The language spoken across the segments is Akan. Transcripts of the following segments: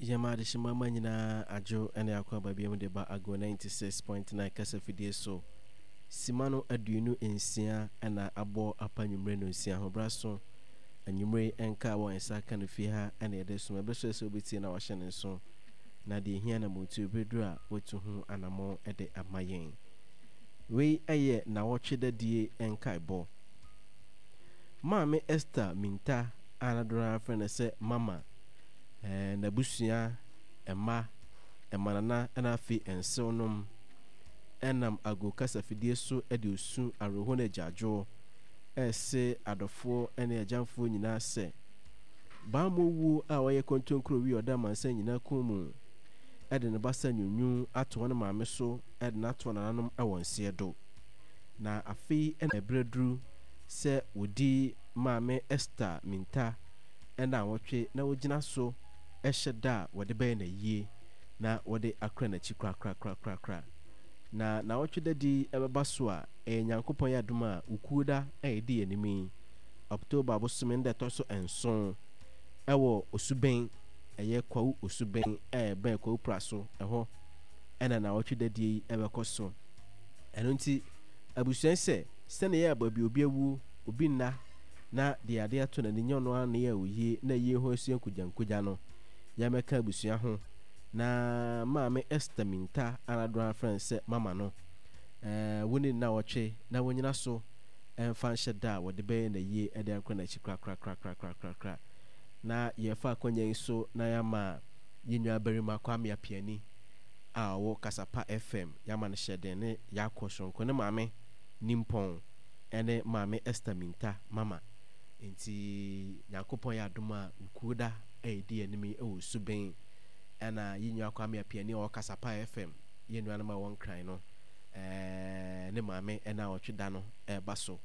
Yɛma adehyema ma nyinaa adwo ne akwaaba biam de ba Ago 96.9 kasafidie so. Sima no 26 na abɔ apa anwummere nonsia ho bra so. Anwummere yi nka a wɔn nsa ka no fie ha na yɛde som. Ɛbɛsɔ sɛ wobɛtie na wahyɛ ne nso. Na deɛ ɛhia na motuo bɛduru a watu ho anammɔn de ama yɛn. Wei yɛ nawɔtwe dadie nkaebɔ. Maame Esther Minta a na dodoɔ no ara frɛ no sɛ Mama, n'abusua, mma, mmanana na afei nsewnom nam ago kasafidie so de osu, awerɛhoɔ ne agyaadwoɔ rese adɔfoɔ ne agyamfoɔ nyinaa sɛ, Bammɔ wuo a ɔyɛ kontonkuro wi a ɔda amansan nyinaa kɔn mu de ne basa nwunwuu ato ne maame so de no ato nananom wɔ nseɛ do. Na afei na ɛberɛ aduru sɛ wɔdi Maame Esther Minta nnawɔtwe na wɔgyina so hyɛ da a wɔde bɛyɛ no ayie na wɔde akora n'akyi korakorakorakorakora. Na nnawɔtwe dadi yi bɛba so a, ɛyɛ Nyankopɔn adom a Wukuoda a ɛdi yɛn anim yi, October bosome no da ɛtɔ so nson, ɛwɔ Osubɛn, ɛyɛ Kwawu Osubɛn a ɛbɛn Kwawu Praso, ɛhɔ na nnawɔtwe dadie yi bɛkɔ so. Ɛno nti, abusua yi sɛ, sɛnea ɛyɛ a baabi obi awuo, obi nna, na deɛ adeɛ ato n'ani nyɛ ɔno ara na ɛyɛ oyie na ayie ho asua nkogyankogya no, yɛmmɛka abusua ho na Maame Esther Minta a na dodoɔ ara frɛ no sɛ Mama no, wɔnni nnawɔtwe na wɔnnyina so mfa nhyɛ da a wɔde bɛyɛ n'ayie de akɔ n'akyi korakorakorakorakorakora. Na yɛrefa akwanya yi so na yɛama yɛn nuabarima Kwame Apiani a ɔwɔ Kasapa FM, yɛama no hyɛden ne yɛakɔ soronko ne maame Nimpɔn ne Maame Esther Minta Mama. Enti Nyankopɔn yɛ adom a Wukuoda a ɛdi anim yi wɔ Suben ɛna yɛn nua Kwame Apiani a ɔwɔ Kasapa FM, yɛn nuanom a ɛwɔ Nkran no, ne maame ɛna ɔtwe da no ɛreba so.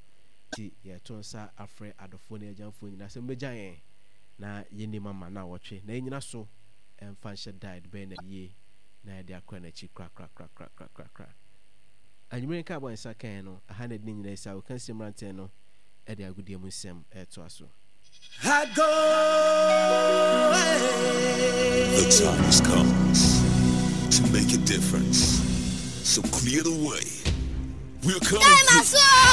Nti yɛto nsa afrɛ adɔfoɔ ne agyamfoɔ nyinaa sɛ mommɛgya yɛn na yɛnni mama na ɔtwe na yɛnyina so ɛmfa nhyɛ da a yɛde bɛyɛ no ayie na yɛde akora n'akyi korakorakorakorakorakora. Anwummere nkaebɔ a yɛn nsa kaeɛ no, aha na ɛde ne nyinaa asi a Okansie mmeranteɛ no de agodie mu nsɛm retoa so. The time has come to make a difference. So clear the way. We're coming through.